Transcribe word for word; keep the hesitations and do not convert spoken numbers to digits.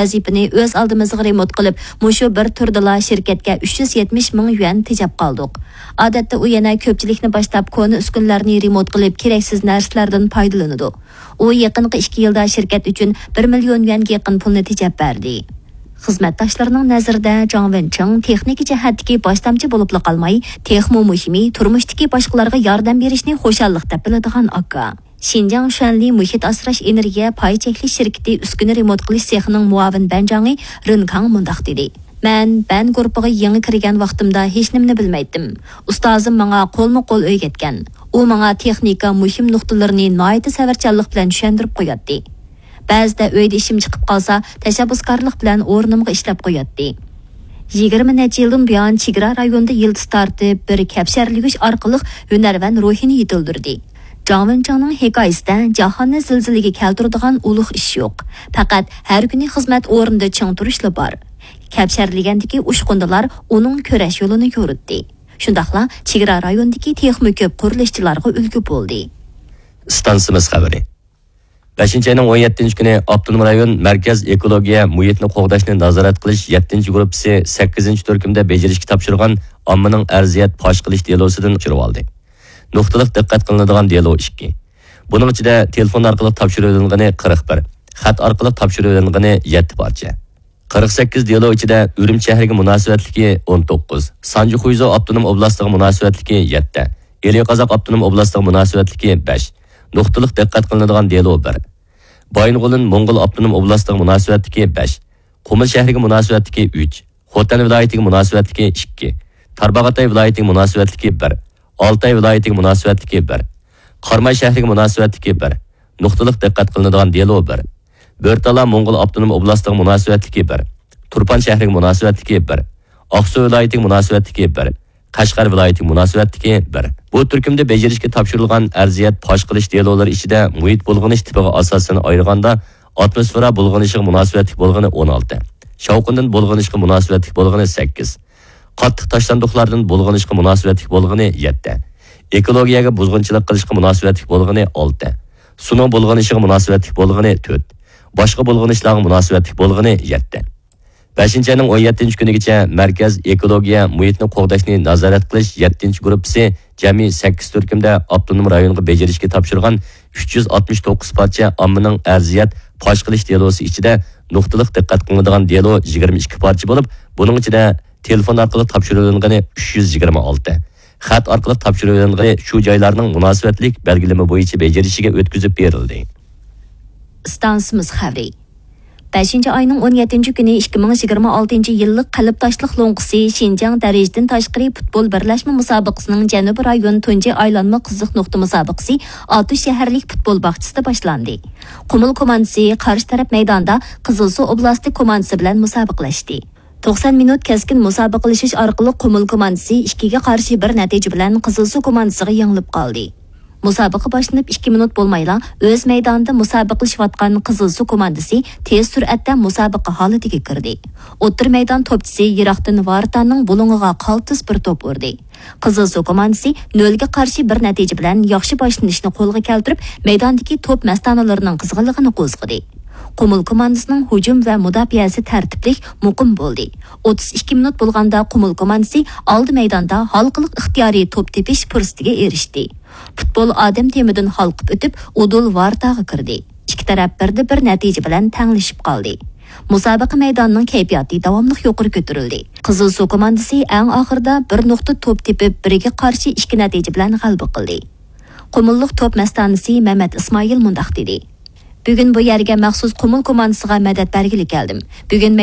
ۋەزىپىنى ئۆز ئالدىمىزغا رېمونت قىلىپ، مۇشۇ بىر تۈردىلا شىركەتكە ئۈچ يۈز يەتمىش مىڭ يۈەن تېجەپ قالدۇق. ئادەتتە ئۇ يەنە كۆپچىلىكنى باشلاپ، كونا ئۈسكۈنىلەرنى رېمونت قىلىپ، كېرەكسىز نەرسىلەردىن پايدىلىنىدۇ. ئۇ يېقىنقى ئىككى يىلدا شىركەت ئۈچۈن بىر مىليون يۈەنگە يېقىن پۇلنى تېجەپ بەردى. خىزمەتداشلىرىنىڭ نەزىرىدە جاڭ ۋېنچىڭ تېخنىكا جەھەتتىكى باشلامچى بولۇپلا قالماي، تېخىمۇ مۇھىمى، تۇرمۇشتىكى باشقىلارغا ياردەم بېرىشنى خۇشاللىق دەپ بىلىدىغان ئاكا. شىنجاڭ شۈەنلى مۇھىت ئاسراش ئېنېرگىيە پاي چەكلىك شىركىتى ئۈسكۈنە رېمونت قىلىش سېخىنىڭ مۇئاۋىن بەنجاڭى رېن كاڭ مۇنداق دېدى: مەن بەن گۇرۇپپىغا يېڭى كىرگەن ۋاقتىمدا ھېچنېمىنى بىلمەيتتىم. ئۇستازىم ماڭا قولمۇ قول ئۆگەتكەن. ئۇ ماڭا تېخنىكا مۇھىم نۇقتىلىرىنى ناھايىتى سەۋرچانلىق بىلەن چۈشەندۈرۈپ قوياتتى. بەزىدە ئۆيدە ئىشىم چىقىپ قالسا، تەشەببۇسكارلىق بىلەن ئورنۇمغا ئىشلەپ قوياتتى. يىگىرمە نەچچە يىلدىن بۇيان چېگرا رايونىدا يىلتىز تارتىپ، بىر كەپشەرلىگۈچ ئارقىلىق ھۈنەرۋەن روھىنى يېتىلدۈردى. جاڭ ۋېنچىڭنىڭ ھېكايىسىدە جاھاننى زىلزىلىگە كەلتۈرىدىغان ئۇلۇغ ئىش يوق. پەقەت ھەر كۈنى خىزمەت ئورنىدا چىڭ تۇرۇشلا بار. كەپشەرلىگەندىكى ئۇچقۇندىلار ئۇنىڭ كۈرەش يولىنى يورۇتتى. شۇنداقلا چېگرا رايونىدىكى تېخىمۇ كۆپ قۇرۇلۇشچىلارغا ئۈلگە بولدى. ئىستانسىمىز خەۋىرى. بەشىنچى ئاينىڭ ئون يەتتىنچى كۈنى ئاپتونوم رايون مەركەز ئېكولوگىيە مۇھىتنى قوغداشنى نازارەت قىلىش يەتتىنچى گۇرۇپپىسى سەككىزىنچى تۈركۈمدە بېجىرىشكە تاپشۇرغان ئاممىنىڭ ئەرزىيەت پاش قىلىش دېلوسىدىن تاپشۇرۇۋالدى. نۇقتىلىق دىققەت قىلىنىدىغان دېلو ئىككى. بۇنىڭ ئىچىدە تېلېفون ئارقىلىق تاپشۇرۇۋېلىنغىنى قىرىق بىر، خەت ئارقىلىق تاپشۇرۇۋېلىنغىنى يەتتە پارچە. قىرىق سەككىز دېلو ئىچىدە ئۈرۈمچى شەھىرىگە مۇناسىۋەتلىكى ئون توققۇز، سانجى خۇيزۇ ئاپتونوم ئوبلاستىغا مۇناسىۋەتلىكى يەتتە، ئىلى قازاق ئاپتونوم ئوبلاستىغا مۇناسىۋەتلىكى بەش، نۇقتىلىق دىققەت قىلىنىدىغان دېلو بىر، بايىنغولىن موڭغۇل ئاپتونوم ئوبلاستىغا مۇناسىۋەتلىكى بەش، قۇمۇل شەھىرىگە مۇناسىۋەتلىكى ئۈچ، خوتەن ۋىلايىتىگە مۇناسىۋەتلىكى ئىككى، تارباغاتاي ۋىلايىتىگە مۇناسىۋەتلىكى بىر، ئالتاي ۋىلايىتىگە مۇناسىۋەتلىكى بىر، قاراماي شەھىرىگە مۇناسىۋەتلىكى بىر، نۇقتىلىق دىققەت قىلىنىدىغان دېلو بىر، بۆرتالا موڭغۇل ئاپتونوم ئوبلاستىغا مۇناسىۋەتلىكى بىر، تۇرپان شەھىرىگە مۇناسىۋەتلىكى بىر، ئاقسۇ ۋىلايىتىگە مۇناسىۋەتلىكى بىر، قەشقەر ۋىلايىتىگە مۇناسىۋەتلىكى بىر. بۇ تۈركۈمدە بېجىرىشكە تاپشۇرۇلغان ئەرزىيەت پاش قىلىش دېلولىرى ئىچىدە مۇھىت بۇلغىنىش تىپىغا ئاساسەن ئايرىغاندا، ئاتموسفېرا بۇلغىنىشىغا مۇناسىۋەتلىك بولغىنى ئون ئالتە، شاۋقۇندىن بۇلغىنىشقا مۇناسىۋەتلىك بولغىنى سەككىز، قاتتىق تاشلاندۇقلاردىن بۇلغىنىشقا مۇناسىۋەتلىك بولغىنى يەتتە، ئېكولوگىيەگە بۇزغۇنچىلىق قىلىشقا مۇناسىۋەتلىك بولغىنى ئالتە، سۇنىڭ بۇلغىنىشىغا مۇناسىۋەتلىك بولغىنى تۆت، باشقا بۇلغىنىشلارغا مۇناسىۋەتلىك بولغىنى يەتتە. بەشىنچى ئاينىڭ ئون يەتتىنچى كۈنىگىچە مەركەز ئېكولوگىيە مۇھىتنى قوغداشنى نازارەت قىلىش يەتتىنچى گۇرۇپپىسى جەمئىي سەككىز تۈركۈمدە ئاپتونوم رايونغا بېجىرىشكە تاپشۇرغان ئۈچ يۈز ئاتمىش توققۇز پارچە ئاممىنىڭ ئەرزىيەت پاش قىلىش دېلوسى ئىچىدە نۇقتىلىق دىققەت قىلىنىدىغان دېلو يىگىرمە ئىككى پارچە بولۇپ، بۇنىڭ ئىچىدە تېلېفون ئارقىلىق تاپشۇرۇۋېلىنغىنى ئۈچ يۈز يىگىرمە ئالتە، خەت ئارقىلىق تاپشۇرۇۋېلىنغىنى شۇ جايلارنىڭ مۇناسىۋەتلىك بەلگىلىمە بويىچە بېجىرىشىگە ئۆتكۈزۈپ بېرىلدى. ئىستانسىمىز خەۋىرى. بەشىنچى ئاينىڭ ئون يەتتىنچى كۈنى ئىككى مىڭ يىگىرمە ئالتىنچى يىللىق قەلب تاشلىق لوڭقىسى شىنجاڭ دەرىجىدىن تاشقىرى پۇتبول بىرلەشمە مۇسابىقىسىنىڭ جەنۇبىي رايون تۇنجى ئايلانما قىزىق نۇقتا مۇسابىقىسى ئاتۇش شەھەرلىك پۇتبول باغچىسىدا باشلاندى. قۇمۇل كوماندىسى قارشى تەرەپ مەيداندا قىزىلسۇ ئوبلاستى كوماندىسى بىلەن مۇسابىقىلەشتى. توقسان مىنۇت كەسكىن مۇسابىقىلىشىش ئارقىلىق قۇمۇل كوماندىسى ئىككىگە قارشى بىر نەتىجە بىلەن قىزىلسۇ كوماندىسىغا يېڭىلىپ قالدى. مۇسابىقە باشلىنىپ ئىككى مىنۇت بولمايلا ئۆز مەيدانىدا مۇسابىقىلىشىۋاتقان قىزىلسۇ كوماندىسى تېز سۈرئەتتە مۇسابىقە ھالىتىگە كىردى. ئوتتۇرا مەيدان توپچىسى يىراقتىن ۋارتانىڭ بۇلۇڭىغا قالتىس بىر توپ ئۇردى. قىزىلسۇ كوماندىسى نۆلگە قارشى بىر نەتىجە بىلەن ياخشى باشلىنىشنى قولغا كەلتۈرۈپ، مەيداندىكى توپ مەستانىلىرىنىڭ قىزغىنلىقىنى قوزغىدى. قۇمۇل كوماندىسىنىڭ ھۇجۇم ۋە مۇداپىئەسى تەرتىپلىك، مۇقىم بولدى. ئوتتۇز ئىككى مىنۇت بولغاندا قۇمۇل كوماندىسى ئالدى مەيداندا ھالقىلىق ئىختىيارىي توپ تېپىش پۇرسىتىگە ئېرىشتى. پۇتبول ئادەم تېمىدىن ھالقىپ ئۆتۈپ، ئۇدۇل ۋارتاغا كىردى. ئىككى تەرەپ بىردە بىر نەتىجە بىلەن تەڭلىشىپ قالدى. مۇسابىقە مەيدانىنىڭ كەيپىياتى داۋاملىق يۇقىرى كۆتۈرۈلدى. قىزىلسۇ كوماندىسى ئەڭ ئاخىرىدا بىر نۇقتا توپ تېپىپ، بىرگە قارشى ئىككى نەتىجە بىلەن غەلىبە قىلدى. قۇمۇللۇق توپ مەستانىسى مەمەت ئىسمائىل مۇنداق دېدى: بۈگۈن بۇ يەرگە مەخسۇس قۇمۇل كوماندىسىغا مەدەت بەرگىلى كەلدىم. بۈگۈن